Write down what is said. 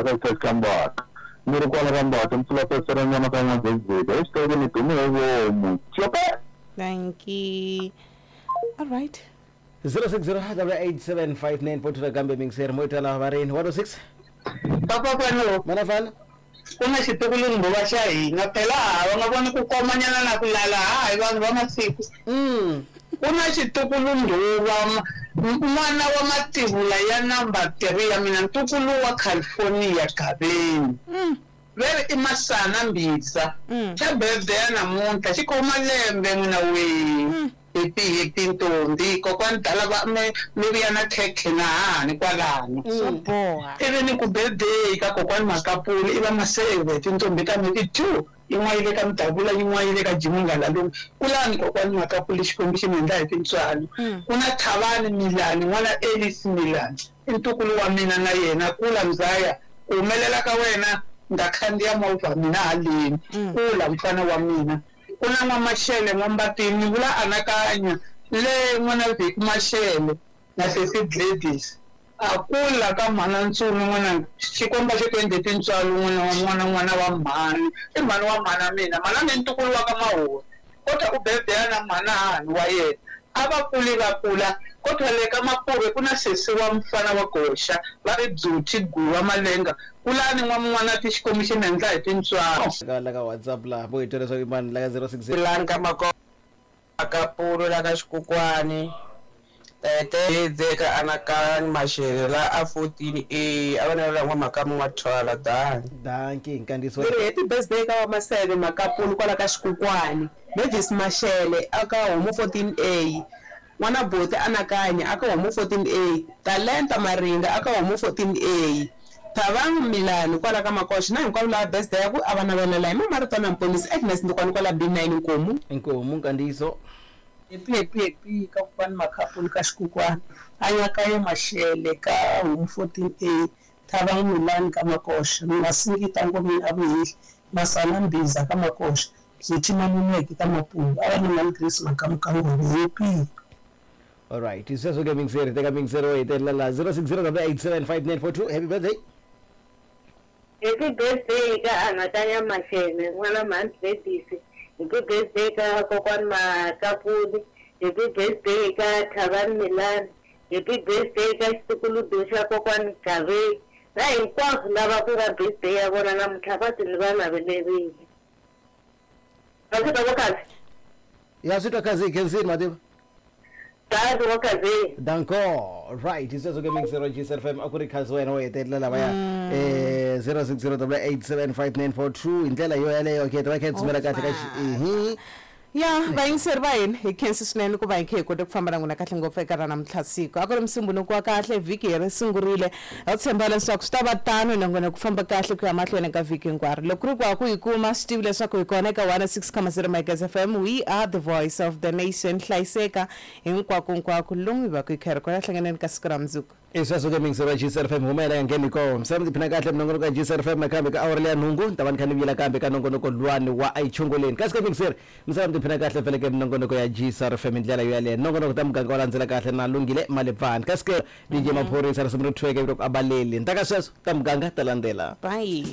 Ka xitasi xa Mbata. Ni ri kwala ka Mbata, ni pfula festere ni vona ka N'wa-Dzedzeki. Hi xitayele ni dume hi vomu. Cope! Dankie. All right. 0608875942 nakambe mingiseri mo tala va rini 106 Papa Fano, mana fana ku na xitukulundhuva xa hina phela ha va nga voni ku komanyana na ku lala ha hi vanhu va masiku. Ku na xitukulundhuva n'wana wa mativula ya number 3 ya mina ntukulu wa California Gaveni. Ve ri i Masana Mbhiza. Xa birthday ya namuntlha xi khoma lembe n'wina wee. Happy happy ntombi kokwani dala va mi mi vuya na khekhe na hahani kwalano. Swo boha. Ivi ni ku birthday ka kokwani Makapuli i va Maseve tintombi ta mina i two yin'wana yi le ka Mdavula yin'wana yi le ka Jimmy Ngalalume. Kulani kokwani Makapuli Xikwembu xi mi endla hi tintswalo. Ku na Thavani Milani n'wana Ellis Milani i ntukulu wa mina na yena kula mzaya ku humelela ka wena ni ta khandziya movha mina haleni kula mfana wa mina. Ku na N'wa-Mashele, N'wa-Mbatini, ni vula Anakanya, le n'wana Vicky Mashele na sesi Gladys. A kula ka mhana Ntsumi n'wananga, Xikwembu a xi ku endle tintswalo n'wana wa n'wana n'wana wa mhani, i mhani wa mhana mina, mhana mina i ntukulu wa ka Mahoni, kodwa u birthday na mhana hahani wa yena. A va kuli va kula, kodwa le ka Mapuve ku na sesi wa mfana wa Goxa, va ri Beauty Guwa Malenga, Kulani n'wamun'wanati Xikwembu xi mi endla hi tintswalo. Ka la ka WhatsApp la vo hi twa leswaku i mani la ka 060. Kulani ka Makapulu la ka Xikukwani Tete Hedze ka Anakani Mashele la a 14 A a va navela n'wa Makamu n'wa Thwala Danki. Danki nkandziyiso. Ni ri happy birthday ka va Maseve Makapulu kwala ka Xikukwani, Mavis Mashele aka Homu 14 A, N'wana Boti Anakanya aka Homu 14 A, Talenta Maringa aka Homu 14 A, Thabang Milani kwala ka Makoxe na hinkwavo lava birthday ya ku a va navelela hi Mama Ritwana Mponisi Agnes Ndukwani kwala B9 Nkomu. Inkomu nkandziyiso. Happy happy happy ka kokwani Makhapulu ka Xikukwani, Anyakaye Mashele ka Homu 14 A, Thabang Milani ka Makoxe, Masingita Ngomeni a Vuhehli, Masana Mbhiza ka Makoxe, Beauty Maluleke ka Mapungu, a va na Mhani Grace Makamu ka Ngove. Happy. Alright, sweswo ke mingiseri teka mingiseri wo hetelela la 0608875942 happy birthday. Happy birthday ka Anakanya Mashele n'wana Mhani Gladys. Happy birthday ka kokwani Makapuli. Happy birthday ka Thabani Milani. Happy birthday ka xitukuludu xa kokwani Gaveni na hinkwavo lava ku nga birthday ya vona namuntlha va ti ni va navelerile. Va swi twa vo Khazi? Ya swi twa Khazi hi khensini mativa. Danko vo Khazi. Danko. Right, sweswo ke mixero GSL FM a ku ri Khazi wena wo hetelela lavaya eh 0608875942 hi ndlela yo yaleyo ke ta va kha hi tsumela kahle ka xi Ya, vayingiseri va hina, hi khensi swinene ku va hi khe hi kote ku famba na n'wina kahle ngopfu eka ra namuntlha siku. A ku ri Musumbhunuku wa kahle, vhiki hi ri sungurile. Ha tshemba leswaku swi ta va tano na n'wina ku famba kahle ku ya mahlweni ka vhiki hinkwaro. Loko ku ri ku ha ku hi kuma, swi tivi leswaku hi kona eka 106.0 Magezi FM, we are the voice of the nation. Hlayiseka hinkwako-nkwako lomu hi va ku hi kha hi ri kona. Hlanganeni ka siku ra mundzuku. I sweswo ke miyingiseri wa GCR FM huma yena ngheni ko misava mi tiphina kahle minongonoko ya GCR FM nakambe ka awara leya nhungu ni ta va ni kha ni vuyela kambe ka nongonoko luwani wa ayichongoleni kasi ke miyingiseri misava mi tiphina kahle vhele ke minongonoko ya GCR FM hi ndlela yo yaleyo nongonoko ta muganga wa landzela kahle na lunghile malebvani kasi ke DJ Maphorisa risimu ri thweke vito ku abaleli ni ta ka sweswo ta muganga ta landzela Bye.